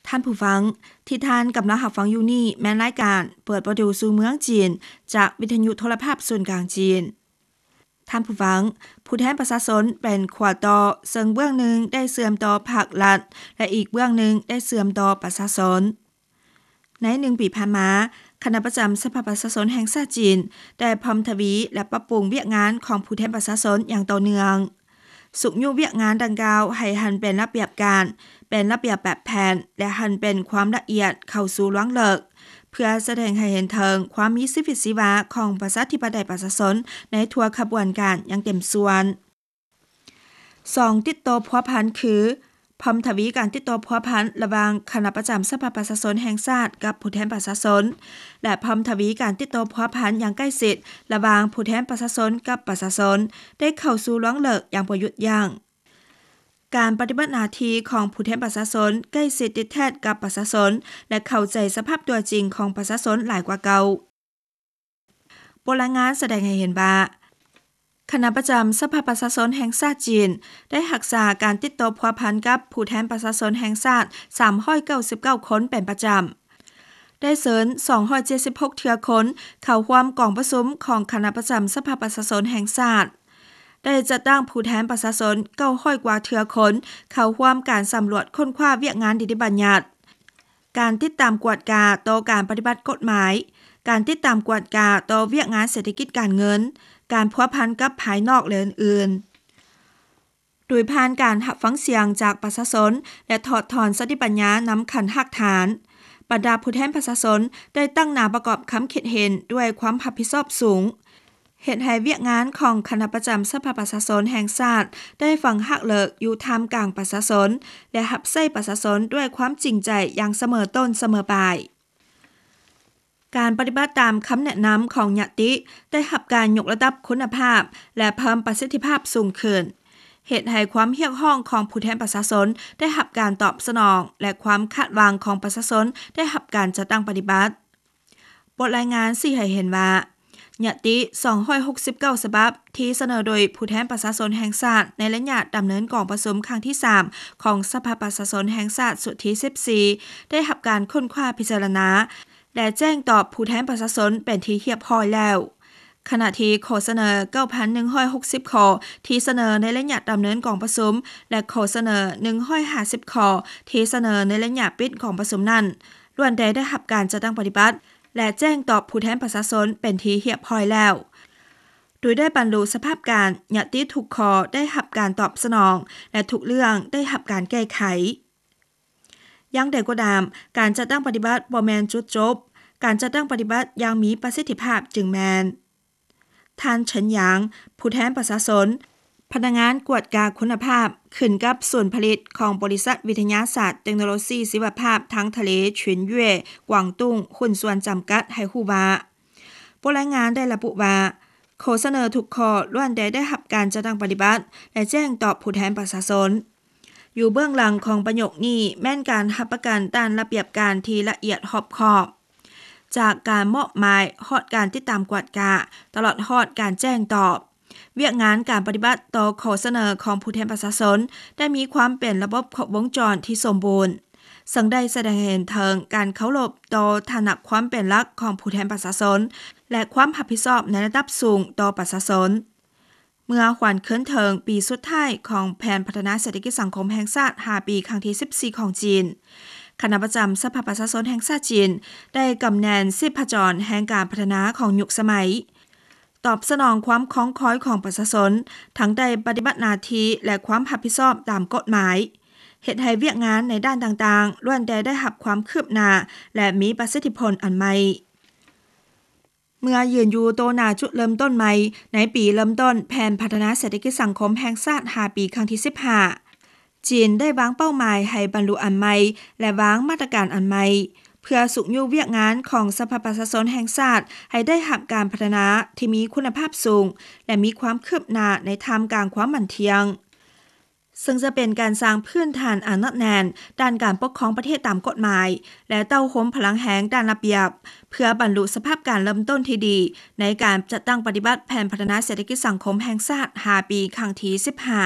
ທ່ານຜູ້ຟັງ ທີ່ທ່ານກຳລັງຮັບຟັງຢູ່ນີ້ ແມ່ນລາຍການເປີດປະຕູສູ່ເມືອງຈີນ ຈາກວິທະຍຸໂທລະພາບສູນກາງຈີນ. ທ່ານຜູ້ຟັງ, ຜູ້ແທນປະຊາຊົນເປັນຂົວຕໍ່ ເຊິ່ງເບື້ອງໜຶ່ງໄດ້ເຊື່ອມຕໍ່ພາກລັດ ແລະ ອີກເບື້ອງໜຶ່ງໄດ້ເຊື່ອມຕໍ່ປະຊາຊົນ. ໃນໜຶ່ງປີຜ່ານມາ, ຄະນະປະຈຳສະພາປະຊາຊົນແຫ່ງຊາດຈີນ ໄດ້ເພີ່ມທະວີ ແລະ ປັບປຸງວຽກງານຂອງຜູ້ແທນປະຊາຊົນຢ່າງຕໍ່ເນື່ອງ, ຊຸກຍູ້ວຽກງານດັ່ງກ່າວໃຫ້ຫັນເປັນລະບຽບການ, ເປັນລະບຽບແບບແຜນ ແລະ ຫັນເປັນຄວາມລະອຽດເຂົ້າສູ່ລວງເລິກ, ເພື່ອສະແດງໃຫ້ເຫັນເຖິງຄວາມມີຊີວິດຊີວາຂອງປະຊາທິປະໄຕປະຊາຊົນໃນທົ່ວຂະບວນການຢ່າງເຕັມສ່ວນ. ສອງ ຕິດຕໍ່ພົວພັນ ຄື ເພີ່ມທະວີການຕິດຕໍ່ພົວພັນລະຫວ່າງຄະນະປະຈຳສະພາປະຊາຊົນແຫ່ງຊາດກັບຜູ້ແທນປະຊາຊົນ ແລະ ເພີ່ມທະວີການຕິດຕໍ່ພົວພັນຢ່າງໃກ້ຊິດລະຫວ່າງຜູ້ແທນປະຊາຊົນກັບປະຊາຊົນ ໄດ້ເຂົ້າສູ່ລວງເລິກຢ່າງບໍ່ຢຸດຢັ້ງ. ການປະຕິບັດໜ້າທີ່ຂອງຜູ້ແທນປະຊາຊົນໃກ້ຊິດຕິດແທດກັບປະຊາຊົນ ແລະ ເຂົ້າໃຈສະພາບຕົວຈິງຂອງປະຊາຊົນຫຼາຍກວ່າເກົ່າ. ບົດລາຍງານສະແດງໃຫ້ເຫັນວ່າ ຄະນະປະຈຳສະພາປະຊາຊົນແຫ່ງຊາດຈີນ ໄດ້ຮັກສາການຕິດຕໍ່ພົວພັນກັບຜູ້ແທນປະຊາຊົນແຫ່ງຊາດ ສາມຮ້ອຍເກົ້າສິບເກົ້າຄົນເປັນປະຈຳ, ໄດ້ເຊີນ ສອງຮ້ອຍເຈັດສິບຫົກເທື່ອຄົນ ເຂົ້າຮ່ວມກອງປະຊຸມຂອງຄະນະປະຈຳສະພາປະຊາຊົນແຫ່ງຊາດ, ໄດ້ຈັດຕັ້ງຜູ້ແທນປະຊາຊົນ ເກົ້າຮ້ອຍກວ່າເທື່ອຄົນ ເຂົ້າຮ່ວມການສຳຫຼວດຄົ້ນຄວ້າວຽກງານນິຕິບັນຍັດ, ການຕິດຕາມກວດກາຕໍ່ການປະຕິບັດກົດໝາຍ, ການຕິດຕາມກວດກາຕໍ່ວຽກງານເສດຖະກິດການເງິນ, ການພົວພັນກັບພາຍນອກ ແລະ ອື່ນໆ. ໂດຍຜ່ານການຮັບຟັງສຽງຈາກປະຊາຊົນ ແລະ ຖອດຖອນສະຕິປັນຍານຳຂັ້ນຮາກຖານ, ບັນດາຜູ້ແທນປະຊາຊົນໄດ້ຕັ້ງໜ້າປະກອບຄຳຄິດເຫັນດ້ວຍຄວາມຮັບຜິດຊອບສູງ, ເຮັດໃຫ້ວຽກງານຂອງຄະນະປະຈຳສະພາປະຊາຊົນແຫ່ງຊາດໄດ້ຝັງຮາກເລິກຢູ່ທ່າມກາງປະຊາຊົນ ແລະ ຮັບໃຊ້ປະຊາຊົນດ້ວຍຄວາມຈິງໃຈຢ່າງສະເໝີຕົ້ນສະເໝີປາຍ. ການປະຕິບັດຕາມຄຳແນະນຳຂອງຍະຕິໄດ້ຮັບການຍົກລະດັບຄຸນນະພາບ ແລະ ເພີ່ມປະສິດທິພາບສູງຂຶ້ນ, ເຮັດໃຫ້ຄວາມຮຽກຮ້ອງຂອງຜູ້ແທນປະຊາຊົນໄດ້ຮັບການຕອບສະໜອງ ແລະ ຄວາມຄາດຫວັງຂອງປະຊາຊົນໄດ້ຮັບການຈັດຕັ້ງປະຕິບັດ. ບົດລາຍງານຊີ້ໃຫ້ເຫັນວ່າ ຍະຕິສອງຮ້ອຍຫົກສິບເກົ້າສະບັບທີ່ສະເໜີໂດຍຜູ້ແທນປະຊາຊົນແຫ່ງຊາດໃນໄລຍະດຳເນີນກອງປະຊຸມຄັ້ງທີສາມຂອງສະພາປະຊາຊົນແຫ່ງຊາດຊຸດທີສິບສີ່ ໄດ້ຮັບການຄົ້ນຄວ້າພິຈາລະນາ ແລະ ແຈ້ງຕອບຜູ້ແທນປະຊາຊົນເປັນທີ່ຮຽບຮ້ອຍແລ້ວ, ຂະນະທີ່ຂໍ້ສະເໜີເກົ້າພັນໜຶ່ງຮ້ອຍຫົກສິບຂໍ້ທີ່ສະເໜີໃນໄລຍະດຳເນີນກອງປະຊຸມ ແລະ ຂໍ້ສະເໜີໜຶ່ງຮ້ອຍຫ້າສິບຂໍ້ທີ່ສະເໜີໃນໄລຍະປິດກອງປະຊຸມນັ້ນ ລ້ວນແຕ່ໄດ້ຮັບການຈັດຕັ້ງປະຕິບັດ ແລະ ແຈ້ງຕອບຜູ້ແທນປະຊາຊົນເປັນທີ່ຮຽບຮ້ອຍແລ້ວ, ໂດຍໄດ້ບັນລຸສະພາບການ ຍະຕິທຸກຂໍ້ໄດ້ຮັບການຕອບສະໜອງ ແລະ ທຸກເລື່ອງໄດ້ຮັບການແກ້ໄຂ. ຢ່າງໃດກໍຕາມ, ການຈັດຕັ້ງປະຕິບັດບໍ່ແມ່ນຈຸດຈົບ, ການຈັດຕັ້ງປະຕິບັດຢ່າງມີປະສິດທິພາບຈຶ່ງແມ່ນ. ທ່ານ ເສີນ ຫຍາງ ຜູ້ແທນປະຊາຊົນ, ພະນັກງານກວດກາຄຸນນະພາບ ຂຶ້ນກັບສູນຜະລິດຂອງບໍລິສັດວິທະຍາສາດເຕັກໂນໂລຊີຊີວະພາບທາງທະເລ ຊິນເຢຍ ກວາງຕຸ້ງ ຫຸ້ນສ່ວນຈຳກັດ ໃຫ້ຮູ້ວ່າ ບົດລາຍງານໄດ້ລະບຸວ່າ ຂໍ້ສະເໜີທຸກຂໍ້ລ້ວນແຕ່ໄດ້ຮັບການຈັດຕັ້ງປະຕິບັດ ແລະ ແຈ້ງຕອບຜູ້ແທນປະຊາຊົນ. ຢູ່ເບື້ອງຫຼັງຂອງປະໂຫຍກນີ້ແມ່ນການຮັບປະກັນດ້ານລະບຽບການທີ່ລະອຽດຮອບຄອບ, ຈາກການມອບໝາຍຮອດການຕິດຕາມກວດກາ, ຕະຫຼອດຮອດການແຈ້ງຕອບ. ວຽກງານການປະຕິບັດຕໍ່ຂໍ້ສະເໜີຂອງຜູ້ແທນປະຊາຊົນໄດ້ມີຄວາມເປັນລະບົບຄົບວົງຈອນທີ່ສົມບູນ, ເຊິ່ງໄດ້ສະແດງໃຫ້ເຫັນເຖິງການເຄົາລົບຕໍ່ຖານະຄວາມເປັນຫຼັກຂອງຜູ້ແທນປະຊາຊົນ ແລະ ຄວາມຮັບຜິດຊອບໃນລະດັບສູງຕໍ່ປະຊາຊົນ. ເມື່ອຫວນຄືນເຖິງປີສຸດທ້າຍຂອງແຜນພັດທະນາເສດຖະກິດສັງຄົມແຫ່ງຊາດຫ້າປີຄັ້ງທີສິບສີ່ຂອງຈີນ, ຄະນະປະຈຳສະພາປະຊາຊົນແຫ່ງຊາດຈີນ ໄດ້ກຳແໜ້ນຊີບພະຈອນແຫ່ງການພັດທະນາຂອງຍຸກສະໄໝ, ຕອບສະໜອງຄວາມຄອງຄອຍຂອງປະຊາຊົນ, ທັງໄດ້ປະຕິບັດໜ້າທີ່ ແລະ ຄວາມຮັບຜິດຊອບຕາມກົດໝາຍ, ເຮັດໃຫ້ວຽກງານໃນດ້ານຕ່າງໆ ລ້ວນແຕ່ໄດ້ຮັບຄວາມຄືບໜ້າ ແລະ ມີປະສິດທິຜົນອັນໃໝ່. ເມື່ອຢືນຢູ່ໂຕໜ້າຈຸດເລີ່ມຕົ້ນໃໝ່ໃນປີເລີ່ມຕົ້ນແຜນພັດທະນາເສດຖະກິດສັງຄົມແຫ່ງຊາດຫ້າປີຄັ້ງທີສິບຫ້າ, ຈີນໄດ້ວາງເປົ້າໝາຍໃຫ້ບັນລຸອັນໃໝ່ ແລະ ວາງມາດຕະການອັນໃໝ່ ເພື່ອຊຸກຍູ້ວຽກງານຂອງສະພາປະຊາຊົນແຫ່ງຊາດໃຫ້ໄດ້ຮັບການພັດທະນາທີ່ມີຄຸນນະພາບສູງ ແລະ ມີຄວາມຄືບໜ້າໃນທ່າມກາງຄວາມໝັ້ນທ່ຽງ. ເຊິ່ງຈະເປັນການສ້າງພື້ນຖານອັນໜັກແໜ້ນດ້ານການປົກຄອງປະເທດຕາມກົດໝາຍ ແລະ ເຕົ້າໂຮມພະລັງແຮງດ້ານລະບຽບ ເພື່ອບັນລຸສະພາບການເລີ່ມຕົ້ນທີ່ດີໃນການຈັດຕັ້ງປະຕິບັດແຜນພັດທະນາເສດຖະກິດສັງຄົມແຫ່ງຊາດຫ້າປີຄັ້ງທີສິບຫ້າ.